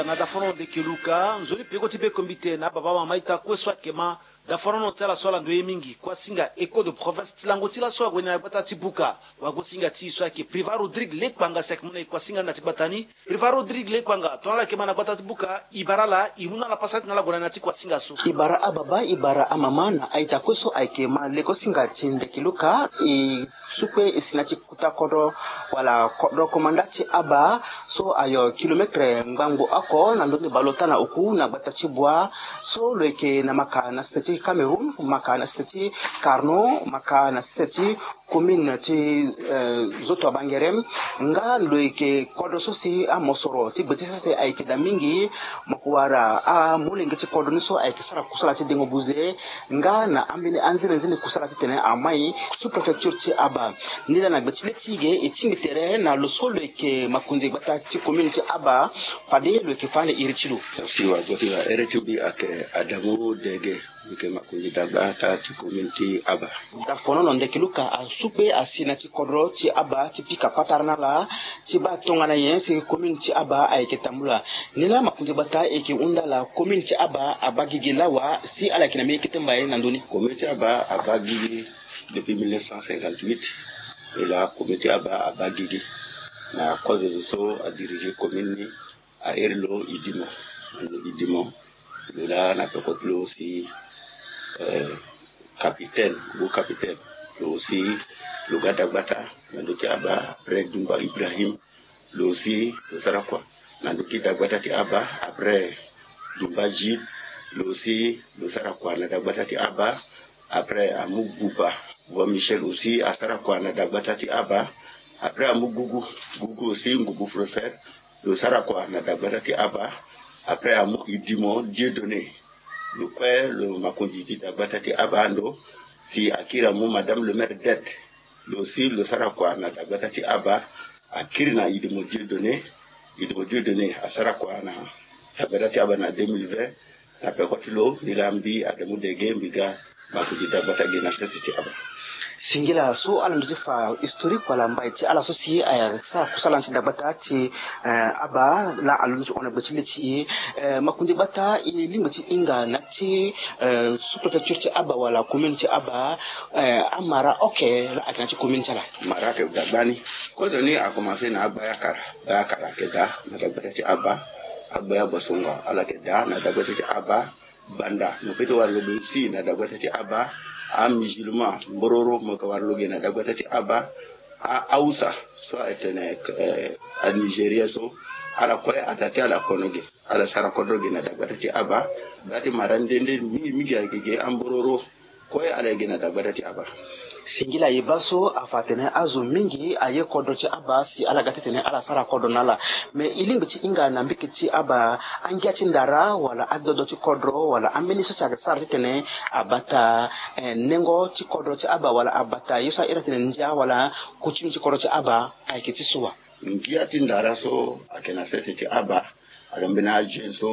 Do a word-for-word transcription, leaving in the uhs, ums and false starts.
Na daforono ndeke luka nzoni peko ti bekombite na baba mama ita kue so ayeke ma. Daforono ti ala so ala ndo ye mingi kuasinga écho de province ti lango ti laso ague na gbata ti buka. Wagosinga ti e so ayeke Privat Rodrigue Lekpanga si ayeke mu na e kuasinga na ti gbata ni. Privat Rodrigue Lekpanga tongana ala yeke ma na gbata ti buka, e bara ala, e mu na ala pasa ti na ala gue na ni na ti kuasinga so. E bara ababa, e bara amama na a-ita kue so ayeke ma lekosinga ti ndeke luka. E su kue e si na ti kuta kodro wala kodro komanda ti aba so ayo kilometre ngbangbo oko na ndoni baleota na oku na gbata ti bua. So lo yeke na maka na sese ti Cameroun, maka na sese ti Carno, maka na sese ti commune ti, eh, Zoto Abangerem. Nga lo yeke kodro so si amosoro ti gbe ti sese ayeke daa mingi. Mo ko wara amolenge ti kodro ni so ayeke sara kusala ti dengo buze. Nga na ambeni anzenenzene kusala titene amai sous-préfecture ti aba. Ni laa na gbe ti le ti ge e tingbi tere na lo so lo yeke makonzi gbata ti commune ti aba. Fade lo yeke fa ande iri ti lo. Si wa goti wa ere ti mbi ayeke Adamu Dege. Mbi yeke makonzi dagbata ti commune ti aba. Dafonono ndeke luka asu kue asi na ti kodro ti aba ti pika patara na ala ti baa tongana nyen si commune ti aba ayeke tambula. Ni laa makonzi gbata e yeke hunda ala commune ti aba abaa gigi lawa si ala yeke na mbeni kete mbai na ndö ni. Commune ti aba abaa gigi depuis mille neuf cent cinquante-huit. E laa commune ti aba abaa gigi na kozo zo so adirige commune ni. A iri lo Idimo, lo Idimo, lo laa na peko ti lo si, eh, capitaine, gros capitaine, lo si lo ga dagbata na ndö ti aba, après Dumba Ibrahim, lo si lo sara kua na ndö ti dagbata ti aba, après Dumba Jib, lo si lo sara kua na dagbata ti aba, après amu Buba, Buba Michel aussi asara kua na dagbata ti aba, après amu Gugu, Gugu aussi Ngubu Prophète, lo sara kua na dagbata ti aba. Après amu Idimo Dieudonné, lo kue lo makonzi ti dagbata ti aba ando. Si akiri amu Madame le maire Dette, lo si lo sara kua na dagbata ti aba. Akiri na Idimo Dieudonné, Idimo Dieudonné asara kua na dagbata ti aba na deux mille vingt. Na peko ti lo, mbi laa mbi Adamu Dege, mbi ga makonzi dagbata gi na sese ti aba. Singila so ala ndo ti fa historique wala mbai ti ala so si asara kusala na ti dagbata ti, eh, aba laa alondo ti hon na gbe ti le ti e. Eh, makonzi gbata e lingbi ti hinga na ti, eh, sous-préfecture ti aba wala commune ti aba, eh, amara oke laa ayeke na ti commune ti ala. Mara ayeke dagbani. Kozoni akomanse na agbaya kara. Agbaya kara ayeke daa na dagbata ti aba. Agbaya Bosongo ala yeke daa na dagbata ti aba. Banda mo peut ti wara lo ge aussi na dagbata ti aba. Amusulman mbororo mo yeke wara lo ge na dagbata ti aba. Ahausa so atene, eh, anigérien so, ala kue ataa ti ala kono ge, ala sara kodro ge na dagbata ti aba. Gba ti mara nde nde mingi mingi ayeke ge ambororo. Kue ala ye gi na dagbata ti aba. Singila e baa so afa atene azo mingi aye kodro ti aba si ala ga titene ala sara kodro na ala. Me e lingbi ti hinga na mbiki ti aba angia ti ndara wala adodo ti kodro wala ambeni so si ayeke sara titene abata, eh, nengo ti kodro ti aba wala abata ye so ahiri atene ndia wala coutume ti kodro ti aba ayeke ti so wa? Ngia ti ndara so ayeke na sese ti aba. Ayeke mbeni ajeune so